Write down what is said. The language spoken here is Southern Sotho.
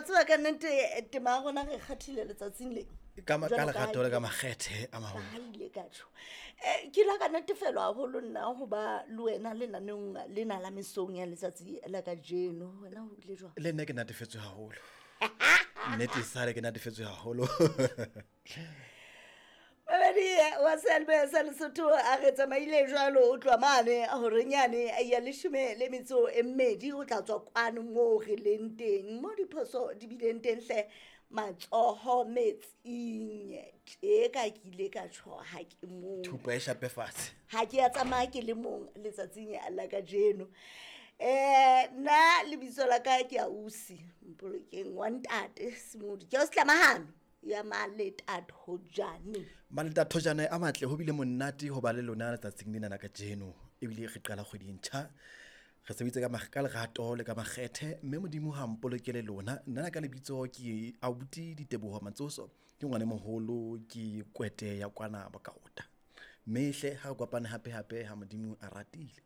Wa tseba ka nnete tema ya rona re kgathile letsatsing le. Ka ma- ka Jwalo ka ha lerato le ke- ka makgethe a maholo. Ka ha ile ka tjho. Ke la ka natefelwa haholo nna ho ba le wena lenaneong lena la mesong ya letsatsi la kajeno. Wena ho bile jwang? Le nna ke natefetswe haholo. Nnete sale ke natefetswe haholo. Mamedi wa seyalemoya sa Lesotho a re tsamaile jwalo o tloha mane horeng yane ya 12 o tla tswa kwano moo re leng teng mo diphoso di bileng teng hle matsoho metsing tje ka ke ile ka tjho ha ke mong. Thupa e shape fatshe. Ha ke ya tsamaya ke le mong letsatsing la kajeno. Nna lebitso la ka ke Ausi Mpolokeng wa ntate Semodi. Ke ausi Tlamahano ya Maletathojane. Maletathojane a matle ho bile monate ho ba le lona letsatsing lena la kajeno. Ebile re qala kgwedi e ntjha. Re sebeditse ka lerato le ka makgethe mme Modimo ha mpolokele lona. Nna ka lebitso ke abuti Diteboho Matsoso. Ke ngwana moholo ke kwete ya kwana Bokaota. Mme hle ha re kopane hape hape ha Modimo a ratile.